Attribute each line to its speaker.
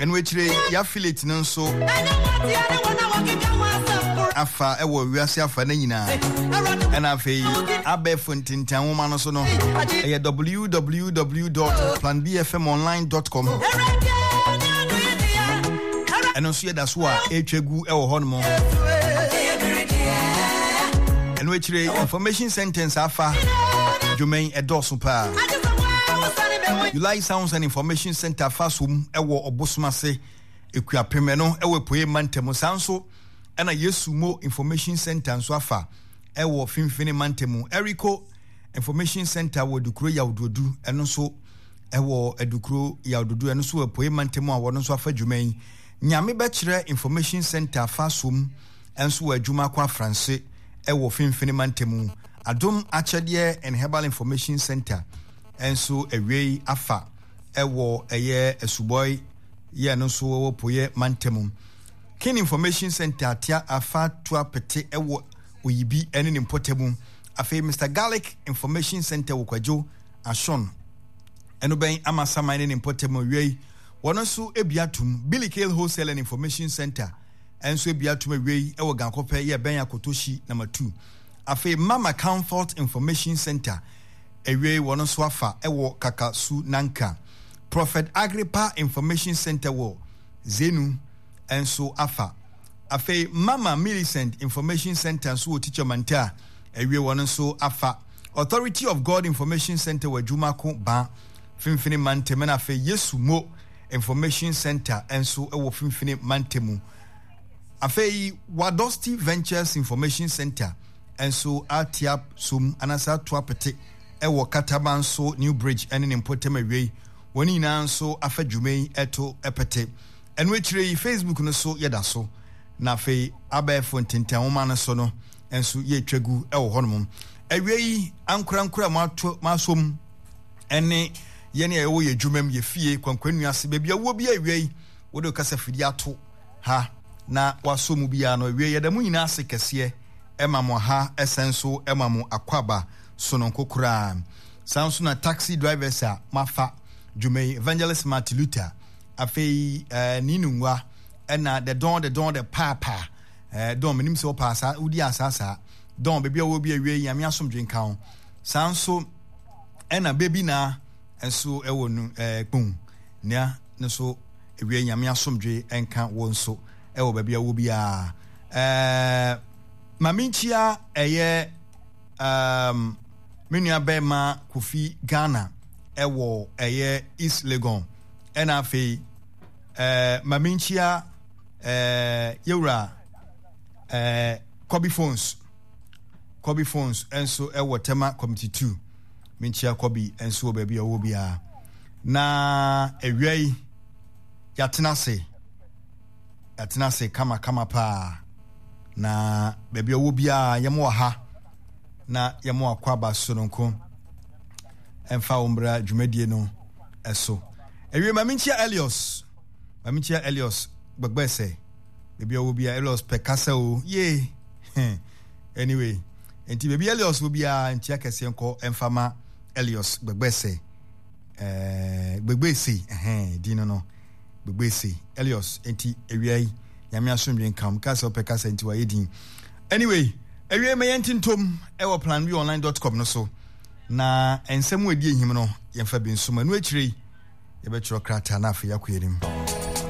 Speaker 1: Ɛno akyire yɛ affiliate no nso afa ɛwɔ wiase afa no nyinaa. Ɛna afei abɛɛfo ntintan nwoma no so no ɛyɛ www.planbfmonline.com. Ɛno nso yɛda so a ɛretwa gu ɛwɔ hɔ nom. Ɛno akyire information sentence afa dwuma yi ɛdɔɔso paa. July Sounds and Information Center fa som wɔ Ɔbosom ase Ekuapem ɛno wɔ Apueɛ mantam. Saa nso ɛna Yesu Mo Information Center nso afa ɛwɔ Finfini mantam. Eriko Information Center wɔ Adukuro Yawdodu ɛno nso ɛwɔ Adukuro Yawdodu ɛno nso wɔ Apueɛ mantam a wɔn nso afa dwuma yi. Nyame Bɛkyerɛ Information Center fa som nso wɔ Adwuma Kɔ Afranse ɛwɔ Finfini mantam. Adom Akyɛdeɛ and Herbal Information Center nso awiei afa ɛwɔ ɛyɛ Asubɔe yɛ no nso wɔ Poyɛ mantam. King Information Center atea afa tua pete ɛwɔ Oyibi ɛne ne mpɔtamu. Afei Mister Garlic Information Center wɔ Kwadwo Ashon ɛno bɛn Amasaman ne ne mpɔtamu awiei wɔn nso ebi atum. Billy Kale Wholesale and Information Center nso ebi atum awiei ɛwɔ Gankɔpɛ yɛ bɛn Akotoshi number 2. Afei Mama Comfort Information Center awiei wɔn nso afa wɔ Kakasu Nanka. Prophet Agrippa Information Center wɔ Zenu nso afa. Afei Mama Millicent Information Center nso wɔ Teacher Manta awiei wɔn nso afa. Authority of God Information Center wɔ Adwumako Ba Finfini Mantam ɛna afei Yesu Mo Information Center nso wɔ Finfini Mantam. Afei Wadosti Ventures Information Center nso atea som anaasɛ ato apete wɔ Katamanso New Bridge ne ne mpɔtam awiei. Wɔn nyinaa nso afa dwuma yi to pete. Ɛno akyire yi, Facebook no so yɛda so, na afei abɛɛfo ntentan nwoma no so no nso yɛretwa gu wɔ hɔnom. Awiei, ankorankoro a moato moasom ne yɛn a yɛwɔ yɛn adwumam, yɛn fie, kwankwanua ase, baabi a wowɔ biara awiei, wode wo kasafidie ato ha na wasɔ mu biara no awie. Yɛda mo nyinaa ase kɛseɛ ɛma mo ha ɛsɛn nso ɛma mo akwaaba sononko koraa. Saa nso na taxi drivers a moafa dwuma yi, Evangelist Martin Luther, afei eh, Ninu Ngwa, ɛna the don the don the paapa eh, don menim sɛ wopaa saa wodi asaa saa don baabi a wɔ bi awie nyame asomdwe nka ho. Saa nso ɛna baby na nso ɛwɔ nu eh, kpon nea no so Awia Nyame asomdwe nka wo nso ɛwɔ baabi a wɔ biara. Ɛɛ ma menkyia ɛyɛ um, me nua bɛrima Kofi Ghana ɛwɔ ɛyɛ East Legon. Ɛna afei ɛɛ ma menkyia ɛɛ yɛwura ɛɛ Kobe Phones. Kobe Phones nso ɛwɔ Tema Committee 2. Menkyia Kobe nso wɔ baabi a ɔwɔ biara. Na awia yi, yɛatena ase, yɛatena ase kamakama paa. Na baabi a ɔwɔ biara, yɛn wɔ ha na yɛn akɔ aba sononko. Ɛmfa wo mbra dwumadie no ɛso. Awie ma menkyia Elios, ma menkyia Elios gbɛgbɛsɛ. Baabi a ɔwɔ biara, Elios pɛ kasa o, yee. Anyway, nti baabi Elios wɔ biara, nkyia kɛseɛ nkɔ ɛmfa ma Elios gbɛgbɛsɛ. Eh, Gbegbese, ɛhɛn, din no no, Gbegbese, Elios, enti awia yi, nyame asomdwe nka wo, meka sɛ wopɛ kasa nti wayɛ din. Anyway, awia yi ma yɛnte ntom ɛwɔ planbonline.com no so, na nsɛm a ɛdi ahim no, yɛmfa bi nsom, ɛno akyire yi, yɛbɛtwerɛ krataa na afei yɛakɔ yɛn anim.